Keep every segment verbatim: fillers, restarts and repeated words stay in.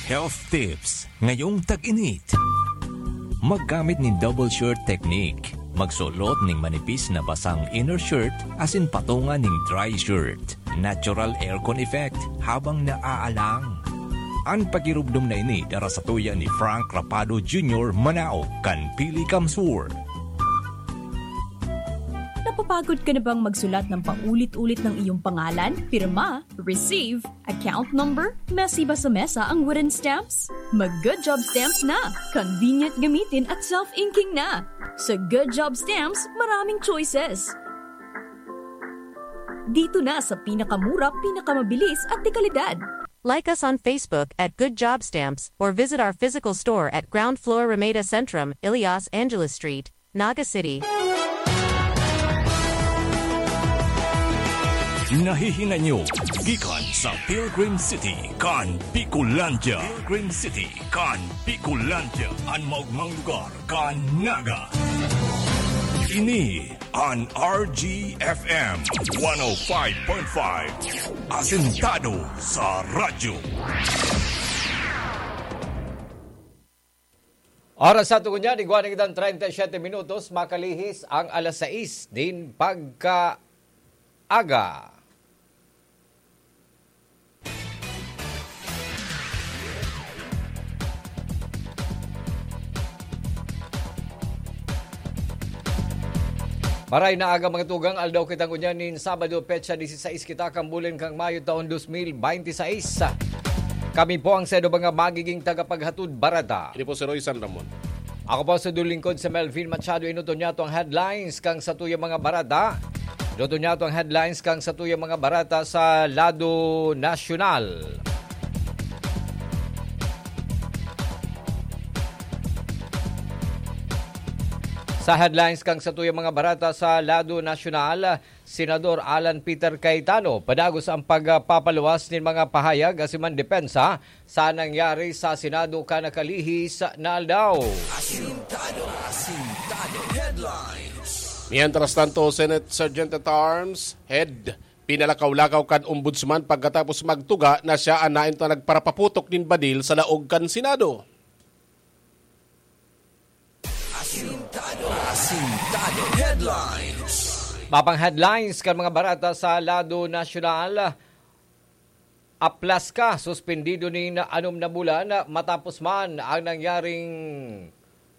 Health tips ngayong tag-init. Maggamit nin double shirt technique. Magsulot nin manipis na basang inner shirt asin patunga nin dry shirt. Natural aircon effect habang naaalang. An pagirubdom na ini dara sa tuya ni Frank Rapado Junior, manaog kan Pili Kamsur. Napapagod ka na bang magsulat ng paulit-ulit ng iyong pangalan, pirma, receive, account number? Messy ba sa mesa ang wooden stamps? Mag Good Job Stamps na! Convenient gamitin at self-inking na! Sa Good Job Stamps, maraming choices. Dito na sa pinakamura, pinakamabilis at dekalidad. Like us on Facebook at Good Job Stamps or visit our physical store at ground floor Ramada Centrum, Ilias Angeles Street, Naga City. Nahihinay nyo gikan sa Pilgrim City kan Bicolandia. Pilgrim City kan Bicolandia, an maogmang lugar kan Naga. Ini an R G F M one oh five point five, asentado sa radyo. Oras sa tungon niya, igwa na kitang treinta y siete minutos, makalihis ang alas sais din pagkaaga. Maray na aga, mga tugang, aldaw kita ngunyan nin Sabado, petsa disisais kita kan bulan kan Mayo, taon dos mil bente y seis. Kami po ang saindo mga magiging tagapaghatod bareta. Ini po si Roy San Ramon. Ako po sa lingkod, si Melvin Machado. Inuton niya ang headlines kan satuyang mga bareta. Inuton niya ang headlines kan satuyang mga bareta sa lado nasyonal. Sa headlines kan satuyang mga bareta sa lado nasyonal, Senador Alan Peter Cayetano padagos ang pagpapaluwas nin mga pahayag asin man depensa sa nangyari sa Senado kan nakalihis na aldaw. Asintado, asintado headlines. Mientras tanto, Senate Sergeant at Arms Head pinalakaw-lakaw kan Ombudsman pagkatapos magtuga na siya an nainto na nagparapaputok nin badil sa laog kan Senado. Asintado, asintado headlines. Mapang headlines kan mga bareta sa lado nasyonal. Aplas ka, suspendido nin anom na bulan matapos man ang nangyaring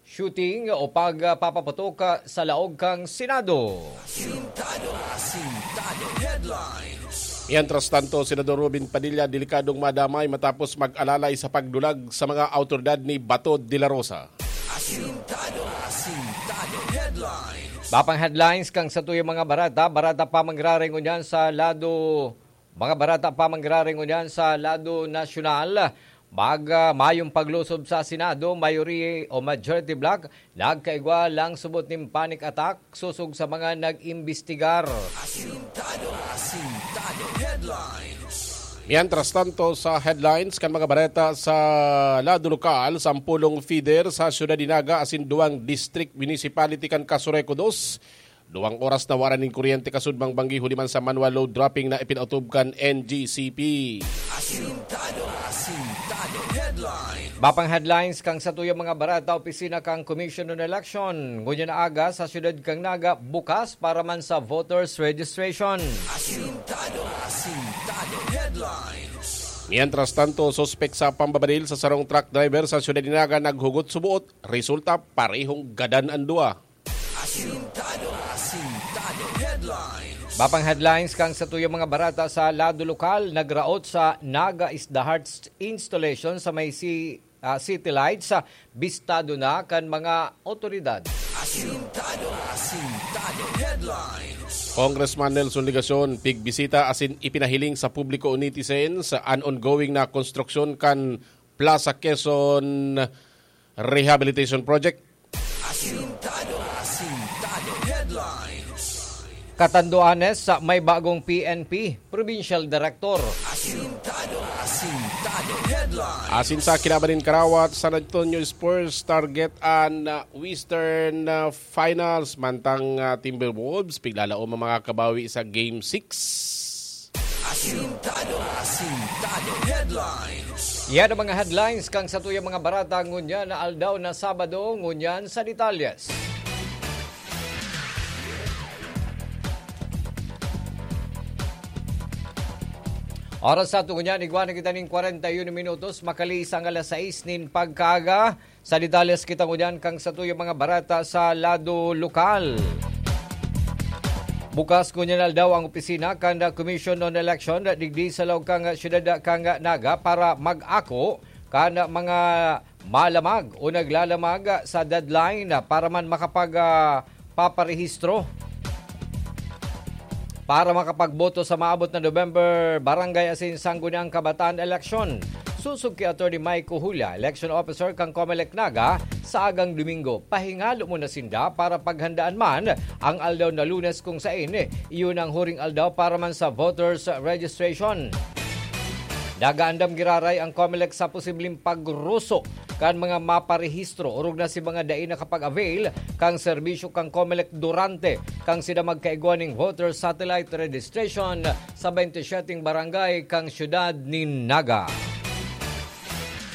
shooting o pagpapaputok sa laog kan Senado. Asintado, asintado headlines. Mientras tanto, Senador Robin Padilla delikadong madamay matapos mag-alalay sa pagdulag sa mga awtoridad ni Bato de la Rosa. Asintado, asintado headlines. Mapang headlines kan satuyang mga bareta, bareta pa mangyari ngunyan sa lado, mga bareta pa mangyari ngunyan sa lado nasyonal. Mag, ah, mayong paglusob sa Senado, mayori o majority bloc, nagkaigwa lang subot nin panic attack sosog sa mga nag-imbestigar. Asintado, asintado headlines. Mientras tanto, sa headlines kan mga bareta sa lado lokal, sampolong feeder sa siyudad ni Naga asin duwang district municipality kan Casureco dos, duwang oras na wara nin kuryente kasudmang banggi huli man sa manual load dropping na ipinautob kan N G C P. Asintado, asintado headlines. Mapang headlines kan satuyang mga bareta, opisina kan Commission on Election. Ngunyan na aga sa siyudad kan Naga, bukas para man sa voters registration. Asintado, asintado headlines. Mientras tanto, suspek sa pambabadil sa sarong truck driver sa siyudad ni Naga naghugot suboot. Resulta, parehong gadan an duwa. Asintado, asintado headlines. Mapang headlines kan satuyang mga bareta sa lado lokal, nagraot sa Naga is the Heart installation sa may si, ah, City Lights, ah, bistado na kan mga otoridad. Asintado, asintado headlines. Congressman Nelson Legacion pigbisita asin ipinahiling sa publiko o netizens an ongoing na konstruksyon kan Plaza Quezon Rehabilitation Project. Asintado, asintado headlines. Catanduanes, sa may bagong P N P Provincial Director. Asintado, asintado headlines. Asin sa kinaban nin karawat, San Antonio Spurs target an, uh, Western, uh, Finals, mantang, uh, Timberwolves piglalaom ang mga kabawi sa Game six. Asintado. Asintado. Headlines. Yan ang mga headlines kan satuyang mga barata ngunyan na aldaw na Sabado, ngunyan sa detalyes. Oras sa ato ngunyan, igwa na kita ning kwarenta y uno minutos, makaliis ang alas sais nin pagkaaga. Sa detalyes kita ngunyan kan satuyang mga barata sa lado lokal. Bukas ngunyan aldaw ang opisina kan Commission on Election digdi sa laog kan siyudad kan Naga para mag-ako kan mga malamag o naglalamag sa deadline para man makapag, ah, paparehistro para makapagboto sa maabot na November barangay asin sangguniang kabataan eleksyon. Sosog ki Attorney Mike Ojuela, election officer kan Comelec Naga, sa agang Domingo. Pahingalo muna sinda para paghandaan man ang aldaw na Lunes kung sain iyon ang huring aldaw para man sa voters registration. Nagaandam giraray ang Comelec sa posibleng pagruso kan mga maparehistro orog na si mga dai nakapag-avail kan serbisyo kan Comelec durante kan sida magkaigwa ning voter satellite registration sa twenty-seven barangay kan siyudad nin Naga.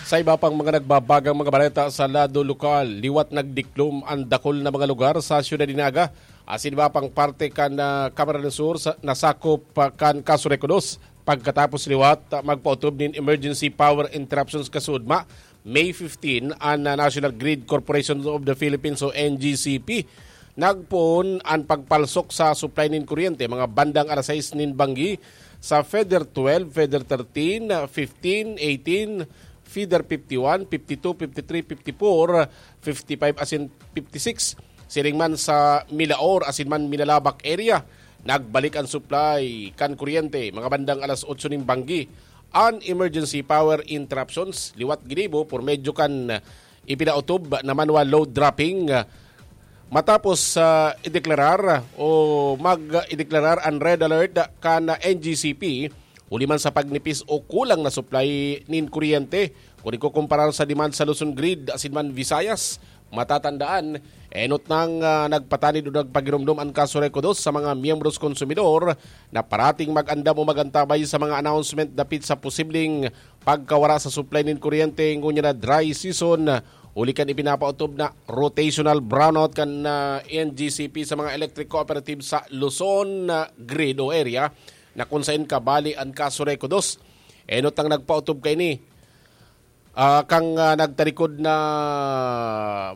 Sa iba pang mga nagbabagang mga baleta sa lado lokal, liwat nagdiklom an dakul na mga lugar sa siyudad nin Naga asin iba pang parte kan, ah, Camarines Sur sa, nasakop pa kan Casureco Dos. Pagkatapos liwat, ah, magpaotob nin emergency power interruptions kasudma, May fifteen, an, ah, National Grid Corporation of the Philippines o N G C P. Nagpoon an pagpalsok sa supply nin kuryente mga bandang alas sais nin banggi sa feeder twelve, feeder thirteen, ah, fifteen, eighteen, feeder fifty-one, fifty-two, fifty-three, fifty-four, fifty-five asin fifty-six. Siring man sa Milaor asin man Minalabac area, nagbalik an supply kan kuryente mga bandang alas otso nin banggi. An emergency power interruptions liwat ginibo por medyo kan ipinautob na manual load dropping, ah, matapos, ah, ideklarar o mag-ideklarar an red alert kan N G C P, huli man sa pagnipis o kulang na supply nin kuryente kun ikukumparar sa demand sa Luzon Grid asin man Visayas. Matatandaan, enot nang, ah, nagpatanid o nagpagiromdom an Casureco Dos sa mga miyembros konsumidor na parating mag-andam o mag-antabay sa mga announcement dapit sa posibleng pagkawara sa supply nin kuryente ngunyan na dry season, huli kan ipinapaotob na rotational brownout kan, ah, N G C P sa mga electric cooperative sa Luzon, ah, grid o area na kun saen kabali an Casureco Dos. Enot ang nagpaotob kaini, ah, kan, ah, nagtarikod na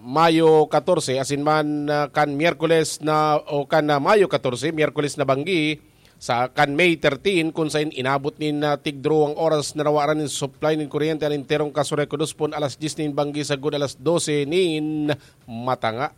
Mayo katorse asin man, ah, kan Miyerkules na o kan, ah, Mayo katorse, Miyerkules na banggi, sa kan May thirteen, kun saen inabot nin, ah, tigduruwang oras na nawaran nin supply nin kuryente an enterong Casureco Dos pon alas dyes nin banggi sagkod alas dose nin matanga.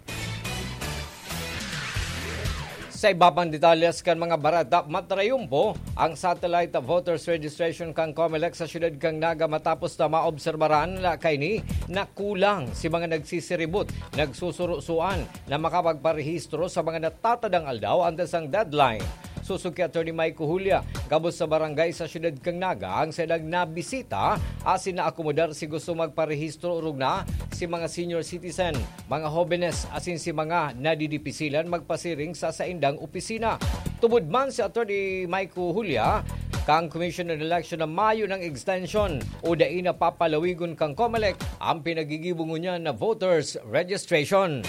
Sa iba pang detalyes kan mga bareta, matrayumpo ang satellite voters registration kan Comelec sa siyudad kan Naga matapos na maobserbaran na kaini na kulang si mga nagsisiribot, nagsusurusuan na makapagparehistro sa mga natatadang aldaw antes ang deadline. Sosog ki Attorney Mike Ojuela, gabos sa barangay sa siyudad kan Naga ang saindang nabisita asin naakomodar si gusto magparehistro orog na si mga senior citizen, mga hobenes asin si mga nadidipisilan magpasiring sa saindang opisina. Tubod man si Attorney Mike Ojuela, kan Commission on Election na mayo nang extension o dai na papalawigon kan Comelec ang pinagigibo ngunyan na voters registration.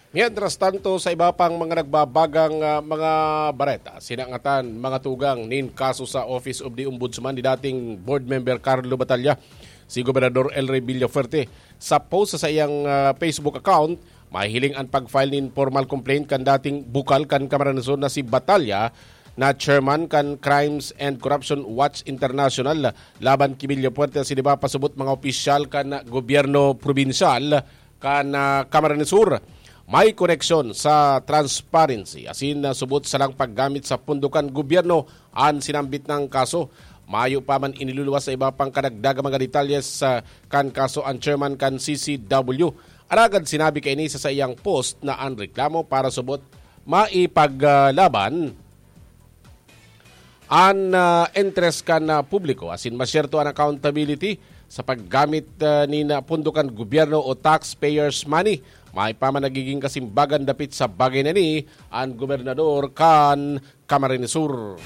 Mientras tanto, sa iba pang mga nagbabagang, ah, mga bareta, sinangatan mga tugang nin kaso sa Office of the Ombudsman ni dating board member Carlo Batalla, si Gobernador El Rey Villafuerte. Sa post sa saiyang, ah, Facebook account, mahihiling an pag-file nin formal complaint kan dating bukal kan Camarines Sur na si Batalla, na chairman kan Crimes and Corruption Watch International, laban ki Villafuerte asin iba pa subot mga opisyal kan gobyerno probinsyal kan, ah, Camarines Sur. May koneksyon sa transparency asin, ah, subot salang paggamit sa pondo kan gobyerno an sinambit nang kaso. Mayo pa man iniluluwas sa iba pang kadagdagang mga detalye sa kan kaso an chairman kan C C W. Alagad sinabi kaini sa saiyang post na an reklamo para subot maipaglaban an, ah, interes kan, ah, publiko asin masyerto an accountability sa paggamit, ah, nin, ah, pondo kan gobyerno o taxpayers' money May pa man nagiging kasimbagan dapit sa bagay na ini an gobernador kan Camarines Sur.